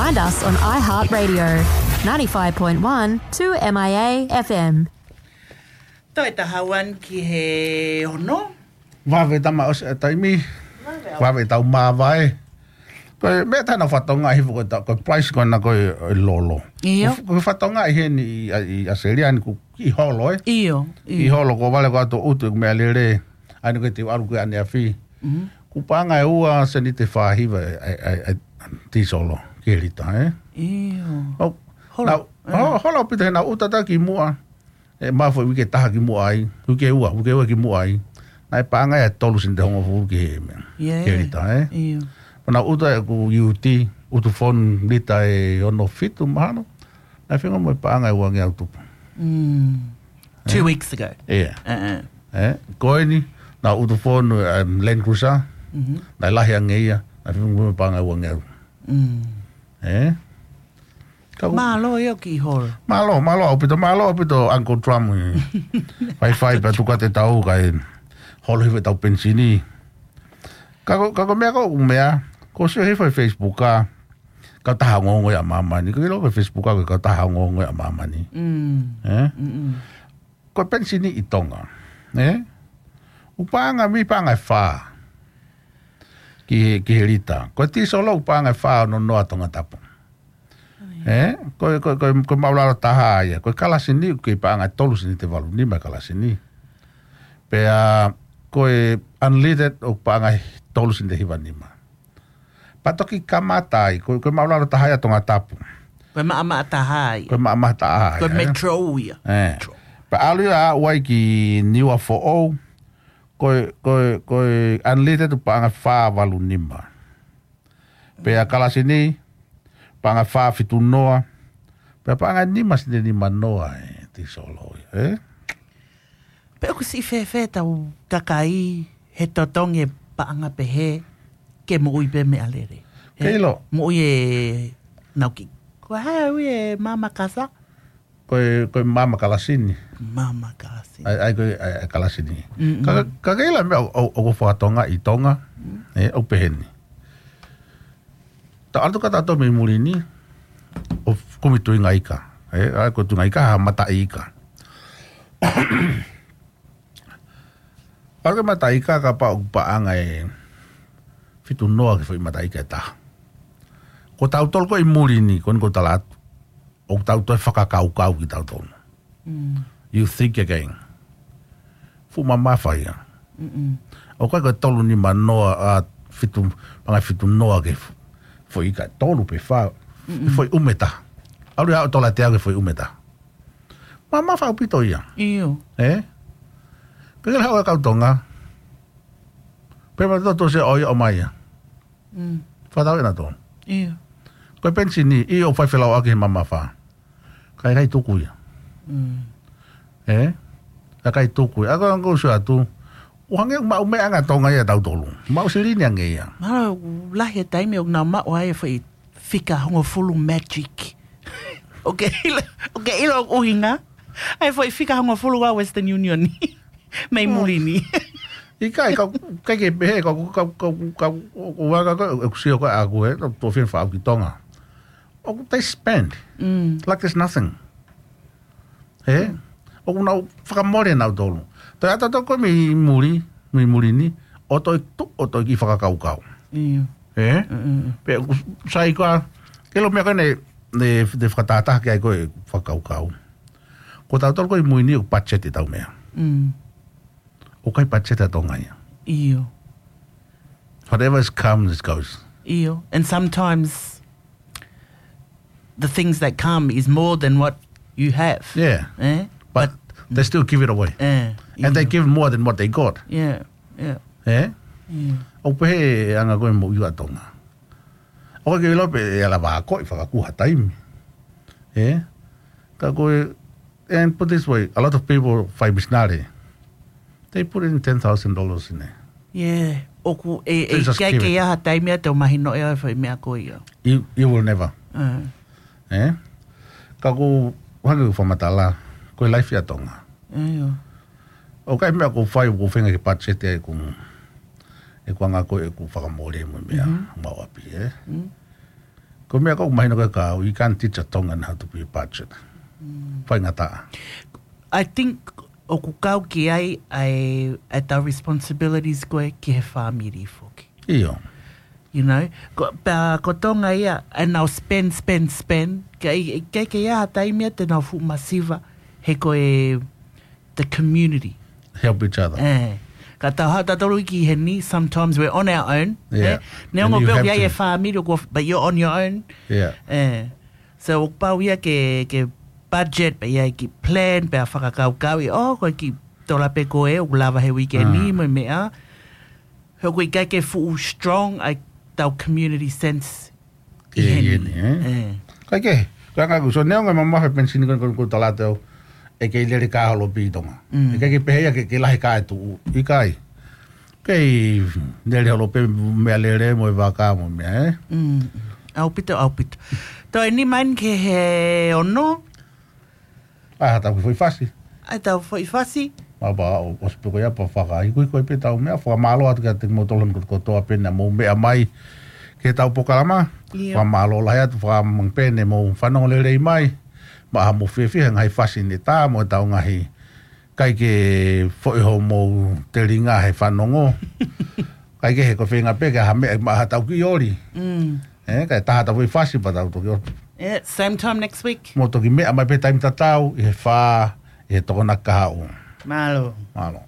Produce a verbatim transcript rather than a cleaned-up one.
Find us on iHeartRadio, ninety-five point one two M I A F M. Toe taha ua ki he ono. Vave tama ʻosi e taimi. Vave au. Vave tau māvae. Ko e meʻa taha naʻa ku fakatokangaʻi hifo ko e ta-, ko e price ko ena ko e, e lolo. ʻIo. Ko e, ko e fakatokangaʻi heni ʻi, ʻi ʻAositelēlia ni ʻoku kiʻi holo, ē? ʻIo, ʻIo. Kiʻi holo ko e vale ko atu ʻutu e meʻalele. ʻAi ni ko e te u ʻalu ko e ʻaneafi. Mhm. Kuo paʻanga ʻe ua seniti fā hiva e, e, e, e tīsolo ki he lita, ē? ʻIo. ʻO, Holo. nau, ʻIo. ho-, holo ʻaupito he naʻa ku ʻuta atu ki muʻa. ʻE, ma foʻi uike ʻe taha ki muʻa ai. Uike ʻe ua, uike ʻe ua ki muʻa ai. Naʻe paʻanga ia ʻe tolu seniti hongofulu ki he meʻa. ʻIo. Ki he lita, ē? ʻIo. Pea naʻa ku ʻuta ʻeku U T, ʻutu fonu lita ʻe ono fitu mahalo. Naʻe feinga mo e paʻanga ʻe uangeau tupu. Mm. Two Ē? weeks ago. ʻIo. Uh-uh. Ē? Ko eni, naʻa ku ʻutu fonu, um, Land Cruiser. Mhm. Naʻe lahi ange ia. Naʻe feinga mo e paʻanga ʻe uangeau. Mm. Ē? Ka ku- Mālō ia ʻoku kiʻi holo. Mālō, mālō ʻaupito, mālō ʻaupito Uncle Trump. Faifai pea tuku atu e tau kae holo hifo ʻetau penisini. Ka ko, ka ko e meʻa ko e ʻū meʻa, ko e sio hifo he Facebook ʻa e kautaha ongoongo ia ʻa māmani. Ko e ʻilo ko e Facebook ʻa e kautaha ongoongo ia ʻa māmani. Mm. Ē? Mm-mm. Ko e penisini ʻi Tonga. Ē? ʻOku paʻanga mei paʻanga ʻe fā. Ki he, ki he lita. Ko e tīsolo ʻoku paʻanga ʻe fā ono noa Tongatapu. ʻIo. Ē? Ko e, ko e, ko e, ko e māʻulalo taha ia. Ko e kalasini ʻoku kei paʻanga ʻe tolu seniti ʻe valu nima e kalasini. Pea ko e unleaded ʻoku paʻanga ʻe tolu seniti ʻe hiva nima. Pea toki kamata ai, ko, ko e māʻulalo taha ia Tongatapu. Ko e maʻamaʻa taha ia. Ko e maʻamaʻa taha ia, Ko e ē? metro ia. Ē. Metro. Pea ʻalu ia ʻo aʻu ai ki Niuafoʻou, ko e, ko e, ko e unleaded ʻoku paʻanga ʻe fā valu nima. Pea kalasini, paʻanga ʻe fā fitu noa. Pea paʻanga ʻe nima seniti ʻe nima noa e tīsolo ia, ē? Pe ʻoku siʻi fēfē ʻetau kakai he totongi e paʻanga pehē ke moʻui pē meʻalele. Ke ʻilo. Moʻui e nau ki. Ko e hā e ui e maʻamaʻa kasa? Ko e, ko e maʻamaʻa kalasini. Maʻamaʻa kalasini. ʻAi, ʻai ko e, ʻai, ʻai kalasini. Mm-mm. Ka, ka, ka ke ʻilo e meʻa ʻo, ʻo, ʻoku fakatokangaʻi ʻi Tonga, Mm. ē, ʻoku pehē ni. Tau ʻalu atu ka tau tō mei muli ni, ʻo kumi tuʻunga ika. Ē, ʻa ko e tuʻunga ika ha mataʻi ika. ʻAlu ki he mataʻi ika kapau ʻoku paʻanga ʻe fitu noa ki he foʻi mataʻi ika ʻe taha. Ko tautolu ko ē ʻi muli ni, ko eni ʻoku ou tala atu, ʻoku tau toe fakakaukau kitautolu. Mm. You think again. Fuʻu mamafa ia. Mm-mm. ʻOku ʻikai ko e tolu nima noa, ʻa, fitu, paʻanga ʻe fitu noa ki he fo-, foʻi ika ʻe tolu pe fā, Mm-mm. foʻi ʻume ʻe taha. ʻAlu ia ʻo tola te au ki he foʻi ʻume ʻe taha. Mamafa ʻaupito ia. ʻIo. Ē? Ke ke haʻu e kau Tonga. Pea ma toto se ʻo ia ʻomai ia. Mm. Fakatau ʻe nautolu. ʻIo. Ko e penisini, ʻio ʻoku fai felauʻaki he mamafa. Ka ʻe ʻikai tuku ia. Mm. Ē? Ka ʻe ʻikai tuku ia. ʻA ko e ʻoku ou sio atu. ʻOku hangē ʻoku maʻu meʻa ange ʻa Tonga ia ʻia tautolu. Maʻu silini ange ia. Mahalo ʻoku lahi e taimi ʻoku nau maʻu ai e foʻi fika hongofulu magic. ʻOku ke ʻilo, ʻoku ke ʻilo ʻoku ʻuhinga. ʻAi e foʻi fika hongofulu ʻa Western Union. Mei Oh. muli ni. ʻIkai, ka, ka ke pehē, ka, ka, ka, ka, ʻoku ou anga ko ē, ʻeku sio ko ē ʻaʻaku ē, tau tō fien faʻu ki Tonga. ʻOku they spend. Mm. Like there's nothing. Ē? Mm. ʻOku nau fakamole nautolu. Toe ʻata toko mei muli, mei muli ni, ʻo toe tu, ʻo toe kiʻi fakakaukau. ʻIo. Ē? Mm, mm, mm. Pea ʻoku sai ko ā, ke ʻilo meʻa ko ē ne, ne, ne fakatātā ki ai ko e fakakaukau. Ko tautolu ko ē ʻi mui ni ʻoku budget ʻetau meʻa. Mm. ʻOku ʻikai budget ʻa Tonga ia. ʻIo. Whatever is comes, it goes. ʻIo. And sometimes the things that come is more than what you have. Yeah. Eh? But But they still give it away. Eh, And they ʻio. give more than what they got. Yeah, yeah. Eh? ʻIo. ʻOku pehē ʻa e anga ko ē moʻui ʻa Tonga. ʻOku ke ʻilo pē ʻe ala vā ko ē fakakū ha taimi. Eh? Ka ko e, and put this way, a lot of people fai misinale. They put in ten thousand dollars in there. Yeah. ʻOku ʻe, They ʻe just ʻikai give ke it. ʻi ai ha taimi ʻe toe mahino ʻe au e foʻi meʻa ko ia. You, you will never. Uh. Eh? Ka ʻoku ou hanga ʻo fakamatala, ko e life ʻa Tonga. ʻIo. ʻOku ʻikai meʻa ʻoku ou fai, ʻoku ou feinga ke budget ʻeku, ʻeku anga ko ē ʻeku fakamole mo e meʻa, Mhm. mau ʻapi, eh? Mm. Ko e meʻa ʻoku mahino ko e kau, you can't teach a Tongan how to be a budget. Faingataʻa. I think ʻoku kau ki ai ʻa e, ʻa e tau responsibilities ko ē ki he fāmili foki. ʻIo. You know, ko, pea ko Tonga ia, ʻenau spend, spend, spend. Ka i, i ke ke ia ha taimi ia te nau fuʻu masiva, he ko e, the community. Help each other. Eh. Ka tau hau tatolu ki heni, sometimes we're on our own. Yeah. Eh? Neongo And you pē have ia to. E fāmili, ko, but you're on your own. Yeah. Eh. So, ʻoku pau ia ke, ke budget, pea ia ki plan, pea fakakaukau ʻi, oh, ko e kiʻi tola pē ko ē, ʻoku lava he weekend ni, mo e meʻa. He ʻoku ʻikai ke fuʻu strong ʻa e tau community sense. Ke ʻi heni, eh? Kai ke, ka ngā kuso, neongo e mamafa penisini ko ko ko talate au, ʻe kei lele ka holo pē ʻi Tonga. ʻE kei ke pehē ia ke, ke lahi ka e tuʻu, ʻikai. Kei lele holo pē meʻa lele mo e vaka mo e meʻa, eh? Mm. ʻAupito, ʻaupito. Toe ni mai ke he ono. ʻA, tau ki foʻi fasi. ʻA, tau foʻi fasi. Ma pa, o, o sipe ko ia pa faka. Iku iku pē tau meʻa, fakamālō atu kia te mo tolon ko kotoa pē na mo meʻa mai. Ke tau pokalama. ʻIo. Fakamālō lahi atu, fakamang pē ne mo fanongo lelei mai. Ma ha mo fiefia, ngaahi fasi ne tā, mo tau ngaahi. Kai ke foʻi ho mo telinga he fanongo. Kai ke he ko fenga pē, ke ha meʻa, ma ha tau ki oli. Mm. Eh, kai taha tau foʻi fasi pa tau toki oli. Yeah, same time next week. Mo toki meʻa mai pē taimi tatau, ʻi he fā, ʻi he tokona kahaʻu. Mālō. Mālō.